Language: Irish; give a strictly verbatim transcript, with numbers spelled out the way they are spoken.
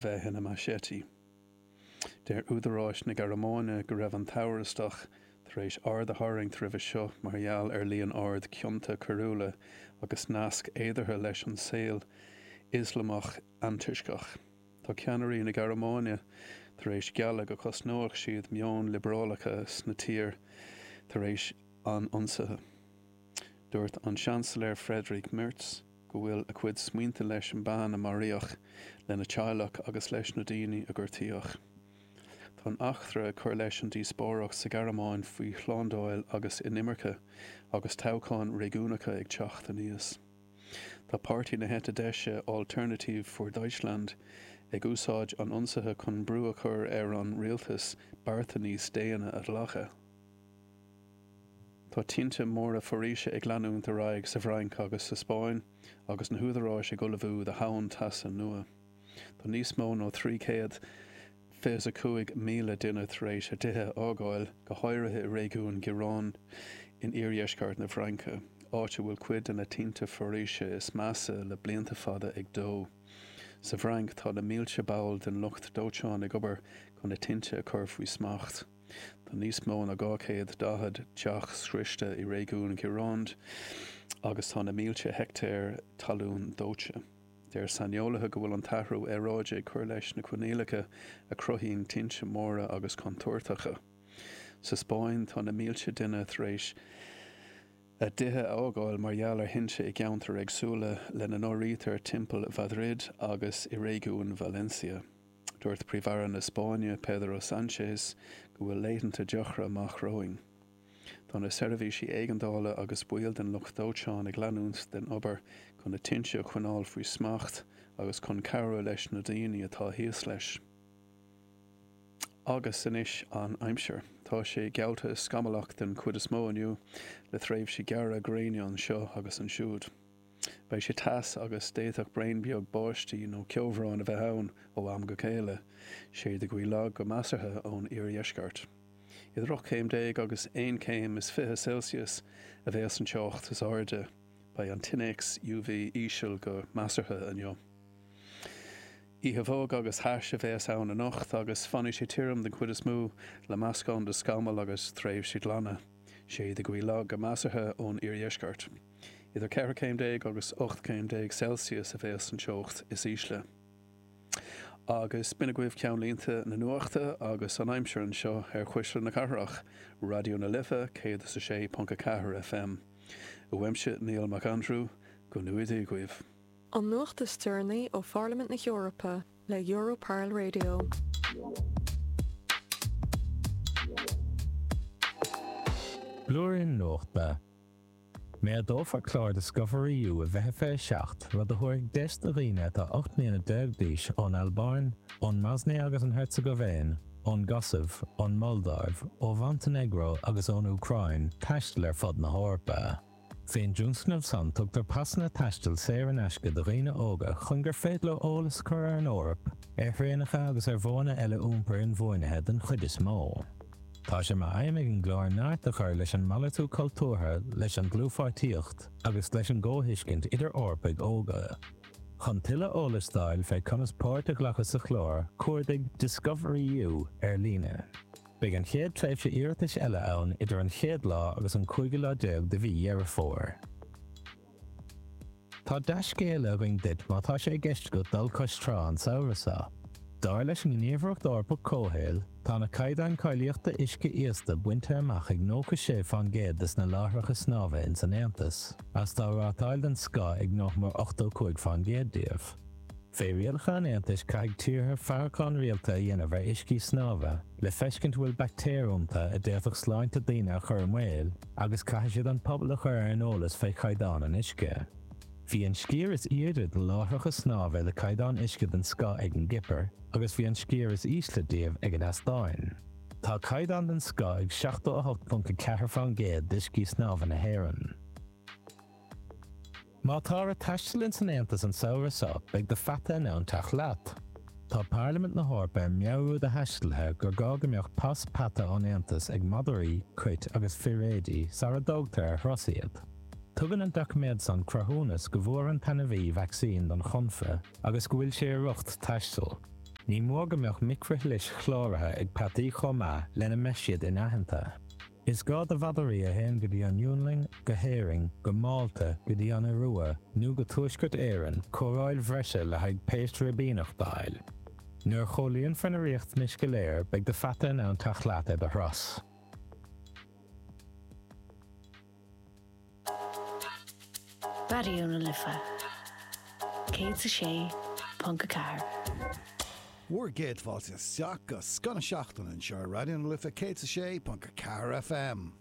bheith ina machete. Deir údaráis na Gearmáine go raibh an t-amhrastach tar éis aird a tharraingt roimhe seo mar gheall ar líon ard cionta coiriúla agus nasc féideartha leis an saol Ioslamach antoisceach. Tá ceannairí na Gearmáine tar éis gealladh go gcosnóidh siad meon liobrálach sa tír tar éis an ionsaithe. Dúirt an Seansailéir Friedrich Merz go bhfuil a chuid smaointe leis an bean a maraíodh lena teaghlach agus leis na daoine a gortaíodh. Tá an eachtra ag cur leis an díospóireacht sa Ghearmáin faoi shlándáil agus inimirce agus toghcháin réigiúnacha ag teacht aníos. Tá páirtí na heite deise Alternative für Deutschland ag úsáid an ionsaithe chun brú a chur ar an rialtas bearta níos déine a ghlacadh. Tá tinte móra foraoise ag leanúint ar aghaidh sa bhFrainc agus sa Spáinn agus na húdaráis ag ullmhú do thonn teasa nua. Tá níos mó ná trí chéad fiche a cúig míle duine tar éis a dtithe a fhágáil, go háirithe i réigiún Gironde in iardheisceart na Fraince, áit a bhfuil cuid de na tinte foraoise is measa le blianta fada ag dó. Sa bhFrainc tá na mílte ball den lucht dóiteáin ag obair chun na tinte a chur faoi smacht. Tá níos mó ná dhá chéad daichead teach scriosta i réigiún Gironde agus tá na mílte heicteár talún dóite. Deir saineolaithe go bhfuil an t-athrú aeráide ag cur leis na coinníollacha a chruthaíonn tinte móra agus contúirteacha. Sa Spáinn tá na mílte duine tar éis a dtithe a fhágáil mar gheall ar thinte i gceantair éagsúla lena n-áirítear timpeall Mhaidrid agus i réigiún Valencia. Dúirt Príomh-Aire na Spáinne Pedro Sánchez go bhfuil laethanta deacra amach romhainn. Tá na seirbhísí éigeandála agus baill den lucht dóiteáin ag leanúint den obair chun na tinte a choinneáil faoi smacht agus chun cabhrú leis na daoine atá thíos leis. Agus anois an aimsir. Tá sé geallta scamallach den chuid is mó inniu le tréimhsí gearra gréine anseo agus ansiúd. Beidh sé tais agus d'fhéadfadh braon beag báistí nó ceobhrán a bheith ann ó am go chéile, séideadh gaoth lag go measartha ón iardheisceart. Idir ocht céim déag agus aon chéim is fiche Celsius a bheas an teocht is airde, beidh an t-innéacs UV íseal go measartha inniu. Oíche bhog agus thais a bheas ann anocht agus fanfaidh sé tirim den chuid is mó le meascán de scamaill agus tréimhsí glana, séideadh gaoth lag go measartha ón iardheisceart. Idir ceithre chéim déag agus ocht céim déag Celsius a bheas an teocht is ísle. Agus b'in agaibh ceannlínte na nuachta agus an aimsir anseo ar Chuisle na Cathrach, Raidió na Life céad is a sé ponc a ceathair FM. Uaimse Niall Mac Aindriú, go ngnóthaí Dia daoibh. An nuacht is deireanaí ó Pharlaimint na hEorpa le Europarl Radio. Blúirín Nuachta. Méadófar clár DiscoverEU i bhfiche fiche seacht, rud a thabharfaidh deis do dhaoine atá ocht mbliana déag d'aois ón Albáin, ón mBosnia agus an Heirseagaivéin, ón gCosaiv, ón Moldáiv, ó Mhontainéagró agus ón Úcráin taisteal ar fud na hEorpa. Fén dtionscnamh san tugtar pasanna taistil saor in aisce do dhaoine óga chun gur féidir leo eolas a chur ar an Eoraip, ar thraenacha agus ar mhodhanna eile iompair inbhuanaithe den chuid is mó. Tá sé mar aidhm ag an gclár neart a chur leis an malartú cultúrtha, leis an dlúthpháirtíocht agus leis an gcomhthuiscint idir Eorpaigh óga. Chun tuilleadh eolais d'fháil fé conas páirt a ghlacadh sa chlár, cuardaigh DiscoverEU ar líne. Beidh an chéad tréimhse iarratais eile ann idir an chéad lá agus an cúigiú lá déag de mhí Dheireadh Fómhair. Tá dea-scéala againn duit má tá sé i gceist agat dul cois trá an samhradh seo. Dar leis an nGníomhaireacht Eorpach Comhshaoil, tá na caighdeáin cáilíochta uisce íosta bainte amach ag nócha sé fán gcéad des na láithreacha snámha ins an Aontas, agus tá rátáil den scoth ag nach mór ochtó cúig fán gcéad díobh. Fé rialacha an Aontais caithfidh tíortha faireachán rialta a dhéanamh ar uiscí snámha le feiscint an bhfuil baictéir iontu a d'fhéadfadh sláinte daoine a chur i mbaol agus caithfidh siad an pobal a chur ar an eolas fé chaighdeán an uisce. Bhí an sciar is airde de láithreacha snámha le caighdeán uisce den scoth ag an gCipir agus bhí an sciar is ísle díobh ag an Eastóin. Tá caighdeán den scoth ag seachtó a hocht ponc a ceathair fán gcéad d'uiscí snámha na hÉireann. Má táthar ag taisteal ins an Aontas an samhradh seo, beidh do pheata in ann teacht leat. Tá Parlaimint na hEorpa ag meabhrú do thaistealaithe gur gá go mbeadh pas peata ón Aontas ag madraí, cait agus firéidí sara dtógtar ar thuras iad. Tugann an doiciméad san cruthúnas go bhfuair an t-ainmhí vacsaín don chonfa agus go bhfuil sé i riocht taistil. Ní mór go mbeadh micrishlis chláraithe ag peataí chomh maith lena mbeidh siad inaitheanta. Is gá do mhadraí a théann go dtí an Fhionlainn, go hÉirinn, go Málta, go dtí an Iorua nó go Tuaisceart Éireann cóireáil bhreise le haghaidh péist ribíneach a fháil. Nuair a chomhlíonfar na riachtanais go léir beidh do pheata in ann teacht leat ar do thuras. Raidió na Life céad is a sé ponc a ceathair. Bhur gcéad fáilte isteach go Scoth na Seachtaine anseo ar Raidió na Life céad is a sé ponc a ceathair FM.